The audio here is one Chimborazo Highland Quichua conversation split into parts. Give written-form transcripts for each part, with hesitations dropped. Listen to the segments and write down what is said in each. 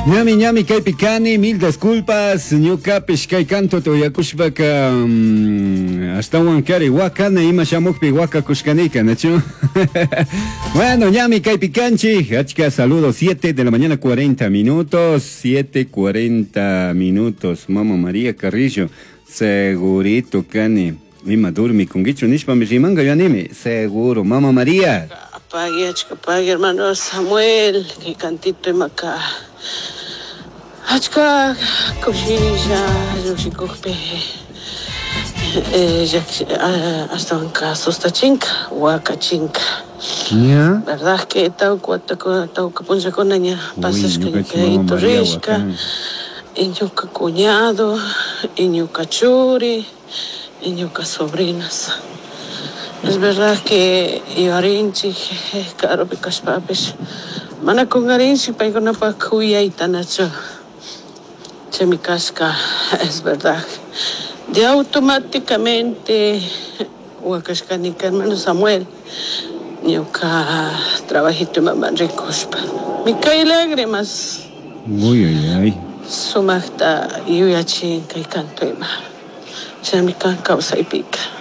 Ñami ñami kaypi kani, mil disculpas, ñukapish kay cantota uyakushpaka ashtawan kari wakana ima shamukpi wakakushkanika, nachu? Bueno, ñami kaypi kanchik, achka saludos, 7 de la mañana 40 minutos, 7:40 minutos, Mama María Carrillo, segurito kani, ima durmikunkichu nishpami rimanka yanimi, seguro, Mama María. Pagui, achka pagui, hermano Samuel, kay cantito imaka achka kushilla lluqshikukpi ashtawanka sustachinka, wakachinka. Ña. Verdad que tawka watakuna, tawka punllakuna ña Uy, pasashka ñukanchik ñuka Mama yayito María rishka, wakan. y ñuka cuñado, y ñuka churi, y ñuka sobrinas. Es verdad que yuyarinchik karupi kashpapish mana kungarinchik paykunapak kuyayta nachu chaymi kashka es verdad de automáticamente wakashkanika hermano Samuel ñuka trabajito imaman rikushpa me cae lágrimas. Uy, ay, ay. Sumakta yuyachin kay canto ima chaymi kan kawsaypika.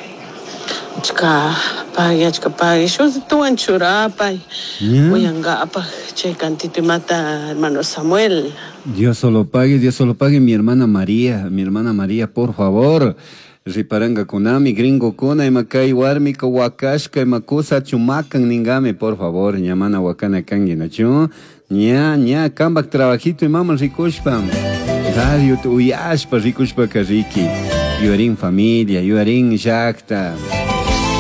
Achka pagui, achka pagui, shuk tuwan churapay, uyankapak chay cantito imata hermano Samuel. Dios solo pague, Dios solo pague, mi hermana María, por favor. Riparanga kunami, gringo kuna, ima kay warmika wakashka, ima kusa chumakan ningami, por favor, ñamana wakana kangi, nachu? Ña, ña, kambak trabajito imama rikushpa, radio tu uyashpa rikushpa kariki, yuarin familia, yuarin llakta,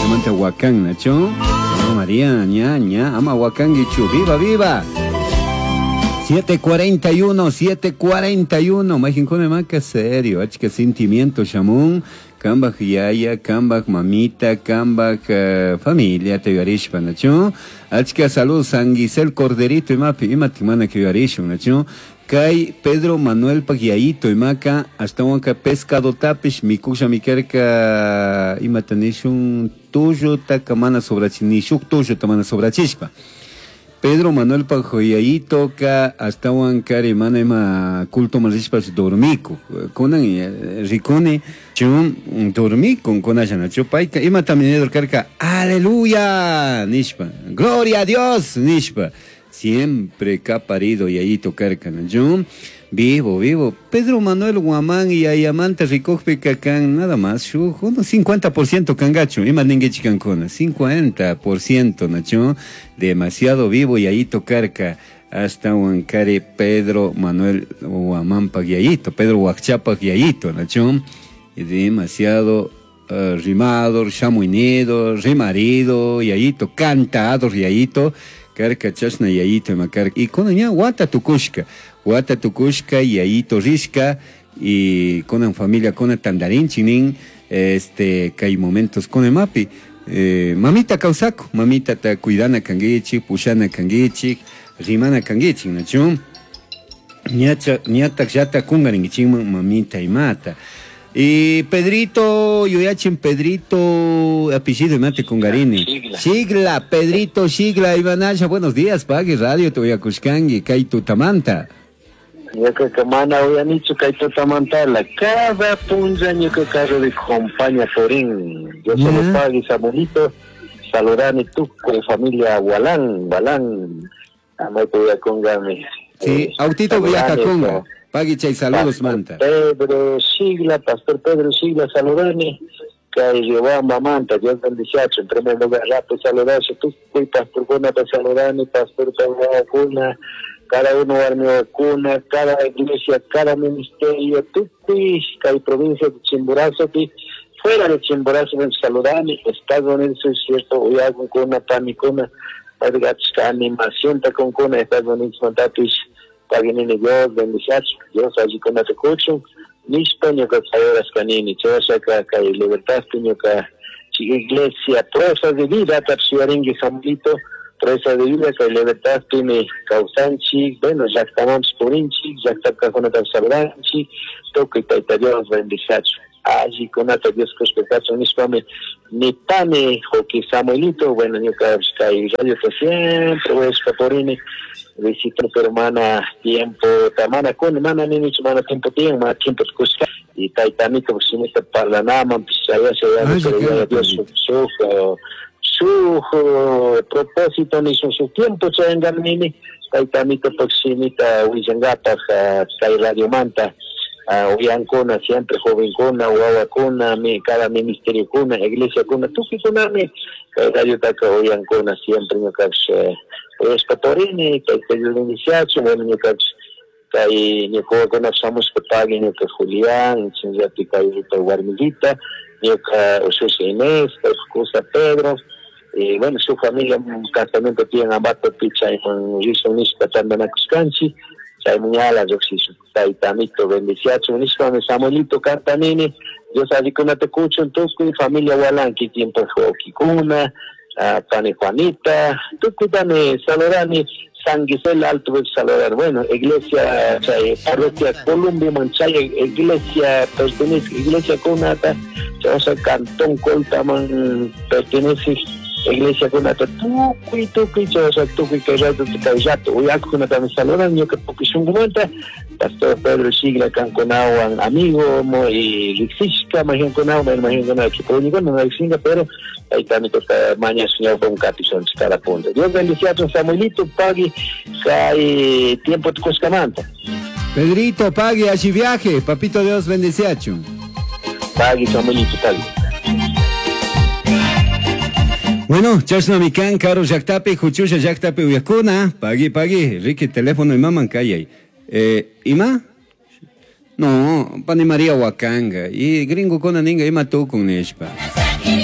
amanta wakan, nachu? Mama María, ña, ña, ama wakangichu, viva, viva. 7:41, 7:41, majinkuna maka serio, achka sentimiento shamun, kambaj yaya, kambaj mamita, kambaj familia te yuarishpa, nachu? Achka salud, San Gisel Corderito, imapi, imati mana que yuarishun, nachu? Kay Pedro Manuel Pagyayito, imaka, hasta wanka pescado tapish, mikusha mikerka, imata nishun tuyo taka mana sobrachi, nishuk tuyo ta mana sobrachishpa. Pedro Manuel Pajoyayito ka hasta wankari mana ima culto marishpas dormiku. Kunan rikuni chun dormiku kunashana chupayka ima también karka aleluya nishpa gloria a Dios nishpa siempre ka parido yayito karka chun vivo vivo Pedro Manuel Guamán y ayamanta rikukpi kakan nada más shu unos 50% kangachu ima ninguichi kankuna 50% nachu demasiado vivo yayito karka hasta wankari Pedro Manuel Guamán pag yayito Pedro Huacchapa yayito nachu demasiado rimador shamuinido rimarido yayito cantador yayito karka chashna yayito ima karka y kuna ña wata tukushka wata tukushka yayito rishka y kunan familia kuna tandarinchi nin este kay momentos kuna mapi mamita kawsaku mamita ta cuidana kangichik pushana kangichik rimana kangichik nachu ñacha ñatak llata kungarinkichikman mamita imata y Pedrito, yuyachin Pedrito, apellido imate kungarini. Shigla. Shigla, Pedrito Shigla, Ivanasha, buenos días, Pagui Radio, te voy a Cuscangui, kay tutamanta. Ñuka kamana uyanichu kay tutamantala, cada punlla ñuka carro de compañía Forín. Yo solo Pagui Samuelito, saludani tuco familia Gualán, Gualán, amayte voy a congami. Sí, autito voy a saludani, conga. co. Pagui chay saludos, Pastor manta. Pedro Shigla, Pastor Pedro Shigla, saludani. Kay Riobamba manta, Dios bendice, en primer lugar, rato saludarse, tú, y Pastor Cuna, te saludani, Pastor Pedro Cuna, cada uno armió cuna, cada iglesia, cada ministerio, tú, y kay provincia de Chimborazo, pi, fuera de Chimborazo, ven saludani, Estados Unidos, es cierto, uyagun cuna, panicuna, padre, animación, ta con cuna, Estados Unidos, mantapis, Paginini Dios, bendice, Dios, allí con te cucho, nishpa ñuka chayoras kanini, chayashaka kay libertad ñuka iglesia, proeza de vida, tapsiaringui Samuelito, proeza de vida, kay libertad timi kawsanchi, bueno, llaktamanpis purinchi, llaktapkakuna tapsaludanchi, tukuy Tayta Dios bendice. Allikunata Dios kushka kachun nishpami nipani Joqui Samuelito. Bueno, ñuka kay radiota siempre uyashpa purini visitando, pero mana tiempo, mana kuni, mana ninichu, mana tiempo tiyan, mana tiempo kushka. Y tayta amito shimita parlanaman, chayasha pero ya Dios su propósito nishun su tiempo chayangan nini, tayta amito shimita willangapak kay radiomanta. Uyankuna, siempre jovenkuna, wawakuna, cada ministerio kuna, iglesia kuna, tukuykunami kay radiotaka uyankuna siempre ñukapish uyashpa purini, tayta Dios bendiciachun. Bueno, ñukapish kay ñuka wawakunapish shamushpa pagui ñuka Julián, chayllapi kay warmillita, ñuka ushushi Inés, paypak kusa Pedro, y bueno, su familia casamiento tiyan Ambatopi, chayman rishun nishpa tantanakushkanchik, chayman ñala llukshishun. Tayta amito bendiciachun nishpami Samuelito cantanini, Dios allikunata kuchun tukuy familia Walanki, kikinpak wawkikuna, pani Juanita, tukuytami saludani, San Gisela Alto saludar. Bueno, iglesia, chay, parroquia Columbia, chay, iglesia pertenece, iglesia kunata, chay, cantón Coltaman pertenece, iglesia kunata, tukuy, tukuy, chay, tukuy, kay rato, kay rato, uyakukunatami saludan, ñuka tukuy shunkumanta, Pastor Pedro Shigla kankunawan amigo y riksishka majiankunawan, majiankunawan, kipuñikuna no riksinga, pero ahí toca mañana señor con capizón cada punto. Dios bendiga a Samuelito, pagui, kay tiempo tukuskamanta. Pedrito, pagui, allí viaje, papito Dios bendice a Pagui, Samuelito, pagui. Bueno, chashna mikan, caro llaktapi, juchusha llaktapi uyakuna, pagui, pagui, Ricky, teléfono y maman kayay. ¿Ima? No, pani María Wakanga. Y gringo kona ninga ima tukun nishpa.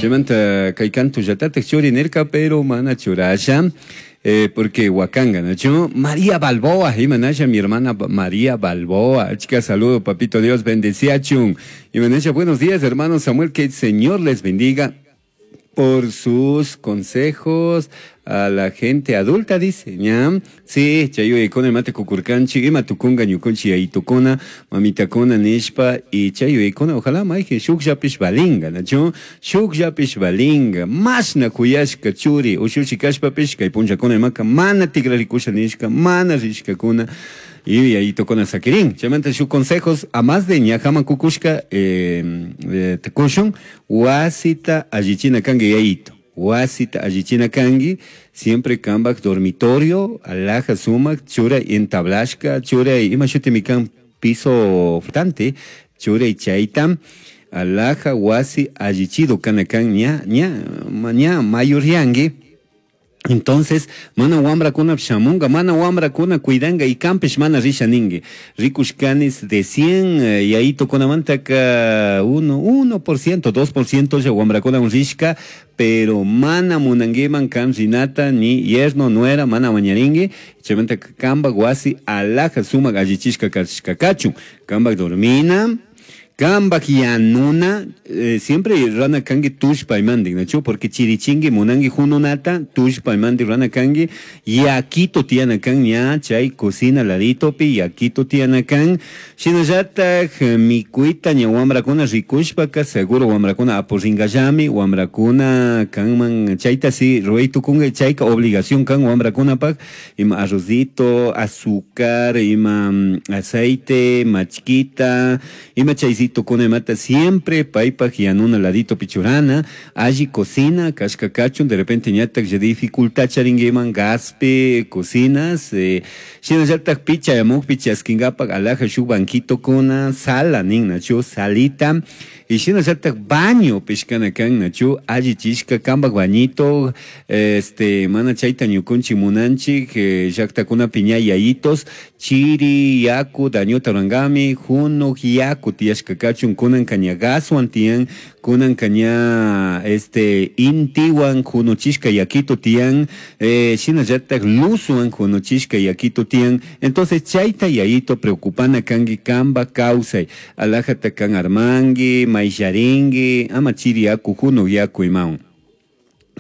Chaymanta kay kantu llatatak churi nirka, pero mana churasha. Porque Wakanga, ¿no? María Balboa, imanasha, mi hermana María Balboa. Chica, saludo, papito Dios, bendecía chun. Imanasha, buenos días, hermano Samuel, que el Señor les bendiga por sus consejos a la gente adulta, dice, ¿ya? Sí, chayu ikona mate kukurkanchi, ima tukunga ñukunchi ayitukuna, mamitakuna nishpa, y chayu ikona, ojalá maije, shukllapish balinga, ¿nachu? Shukllapish balinga, mashna kuyashka churi, ushushi kashpapish, kay punchakuna imaka, mana tigrarikusha nishka, mana rishkakuna, y ahí tocó saquirín. Chaymanta sus consejos, a más de ñajama kukushka, tekushun, wasita allichina kangi yayito. Wasita allichina kangi, siempre kambak dormitorio, alaja sumak, chura entablashka, chura ima shuti mikan piso flotante, chura y chayta, alaja wasi allichido kanakan ña, ña, ña, mayuriangi. Entonces, mana wamrakuna shamunga, mana wamrakuna cuidanga y campish mana risha ningue. Rikushkanis de 100, y ahí toconamantaka 1%, 2% ya wamrakuna un rishka, pero mana munangueman kan rinata ni yerno nuera mana mañaringue, chaymanta kamba guasi alaja suma gallichishka kachishka kamba dormina. Kambak yanuna, siempre rana kangi tushpa imandi, ¿no? Porque chirichingi munangi jununata, tushpa imandi rana kangi, yakito tiana kan ña, chay cocina ladito pi, yakito tiana kan, shinallata mikuita ña wamrakuna rikushpaka, seguro wamrakuna aporringallami, wamrakuna kanman, chayta si rueitukunga, chayka obligación kan wamrakuna pak, ima arrozito, azúcar, ima aceite, machquita, ima chaycito con mata siempre paypaj yanuna ladito pichurana, allí cocina, kashka kachun, de repente ñatak ya dificultad charingueman, gaspe, cocinas, shinallataq picha yamukpi chaskingapak alaja shuk banquito kuna, sala nin nachu, salita, y shinallataq baño pishkana kan nachu, alli chishka kambak bañito, mana chayta ñukunchik munanchik, llaqtakuna piña yayitos, chiri, yaku, dañuta rangami, juno, yaku tiyashka kachun, kunan kaña gaswan tiyan, kunan kaña, intiwan junuchishka yakito tiyan, shinallataq luzwan junuchishka yakito tiyan. Entonces chayta yayito preocupana kangi kamba kawsay, alajata kan armangi, maysharingi, ama chiri yaku junu yaku imawan.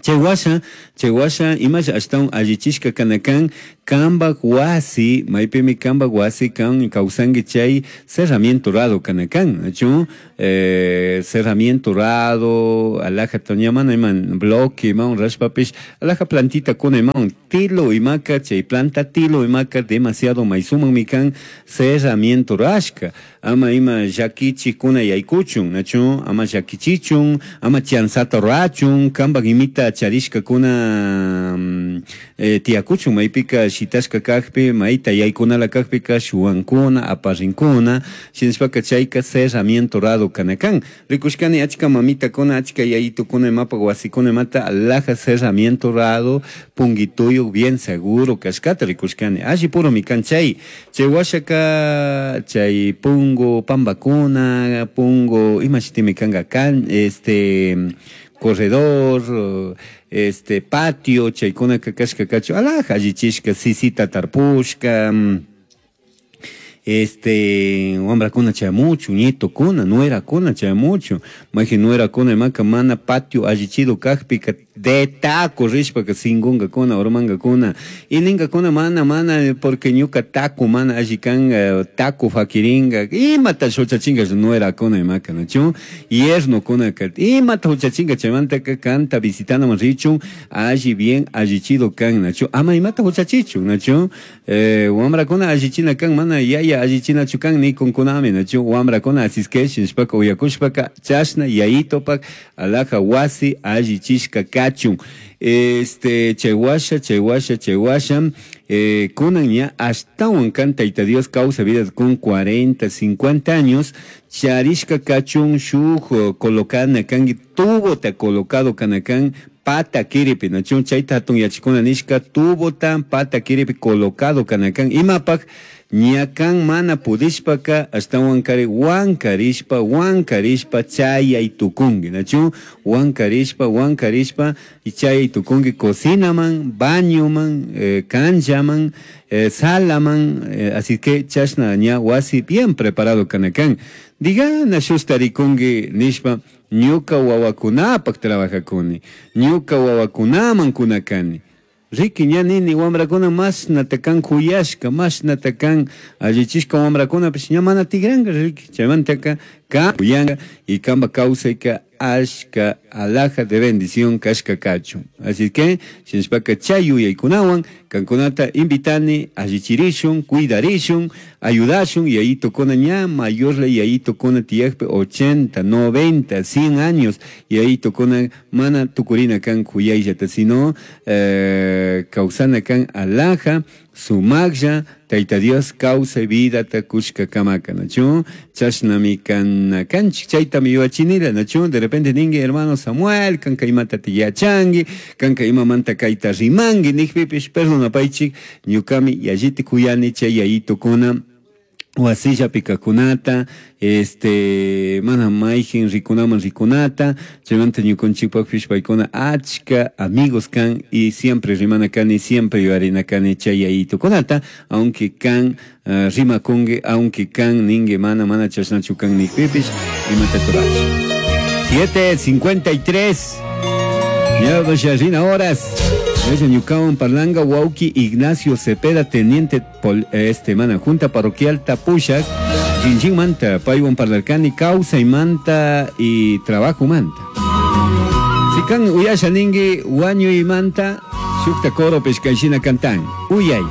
Chaywasha, chaywasha, imasha ashtawan allichishka kanakan, Kambaj wasi, maypimi kambaj wasi kan kawsanki chay cerramiento rado kana kan, nachu? Cerramiento rado, alaja toñamana iman bloque iman rashpapish, alaja plantita kuna iman tilo imaka, chay planta tilo imaka demasiado maysumanmi kan cerramiento rashka, ama ima llakichikuna yaykuchun, nachu? Ama llakichichun, ama chanzata rachun, kambaj imita charishkakuna tiyakuchun, maypika shitashka kakpi, mayta yaykunala kakpika shuwankuna, aparrinkuna, shinashpaka chayka cerramiento rado kana kan. Rikushkani achka mamitakuna, achka yayitukuna imapaj wasikuna imata alaja cerramiento rado, punguituyuk bien seguro kashkata rikushkani. Alli puromi kan chay. Chay washaka, chay pungu pambakuna, pungu imashitimi kanka kan, corredor, patio, chaykunaka kashka kachu, alaja allichishka, sisita tarpushka, wambrakuna chayamuchu, nietokuna, nuerakuna chayamuchu, maji nuerakuna imaka mana patio allichido kakpika de taco rishpaka singunkakuna, urmankakuna, y ninkakuna mana, mana, porque ñuka taco mana alli kan, taco fakiringa, imata huchachinga nuerakuna imaka, nachu? Yernokunaka, imata huchachinga chaymantaka kanta visitanaman richun, alli bien allichido kan, nachu? Ama imata huchachichun, nachu? Wambrakuna allichina kan, mana yaya allichinachu kan nikunkunami, nachu? Wambrakuna asisque shinashpaka uyakushpaka chashna yayitopak alaja wasi allichishka kachun. Chaywasha, chaywasha, chaywasha, kunan ña ashtawan kan Tayta Dios causa vida con 40, 50 años, charishka kachun shuj colocana kangi, tubo ta colocado kanakan, pata kiripi, nachun chayta hatun yachikuna nishka, tubo ta pata kiripi colocado kanakan, imapak ñakan mana pudishpaka ashtawan kari wankarishpa, wankarishpa chayay tukunki, nachu? Wankarishpa, wankarishpa y chayay tukunki cocinaman, bañoman, canchaman, salaman, así que chashna ña wasi bien preparado kanakan. Digana shustarikunki nishpa, ñuka wawakunapak trabajakuni, ñuka wawakunaman kunakani. Riki ña nini wambrakuna mashnata kan kuyashka, mashnata kan allichishka wambrakunapish ña mana tigranka riki, chaymantaka kan kuyanka y kamba kawsayka ashka alhaja de bendición kashka kachun. Así que, shinashpaka chay yuyaykunawan kankunata invitani allichirishun, cuidarishun, ayudashun, y ahí tocona ña mayorla y ahí tocona tiyakpi 80, 90, 100 años, y ahí tocona mana tukurina kan kuyayllata, sino kawsana kan alhaja, sumaklla, Tayta Dios kawsay vidata kushka kamaka, nachu? Chashnami kan kanchik, chaytami yuachinila, nachu? De repente ningi hermano Samuel, kanka imata tiyachangi, kanka imamanta kayta rimangi, nikpipish perdonapaychik, ñukami yalliti kuyani chay yayitukuna, wasilla pikakunata, mana mayjin rikunaman rikunata, chaymanta ñukanchikpakpish paykuna achka amigos kan y siempre rimana kani, siempre yuyarina kani chay yayitukunata, aunque kan rimakunki, aunque kan ningue mana, mana chashnachu kan nikpipish, imata turachi. 7:53. Ya vaya horas. Gracias, ñukawan parlang wauki Ignacio Cepeda, teniente pol, mana, Junta Parroquial Tapushak, Jinjin Manta, paywan parlarkani, causa y manta y trabajo manta. Sikan uyasha ningi, wañu y manta, shukta coro pescaishina cantan. Uyay.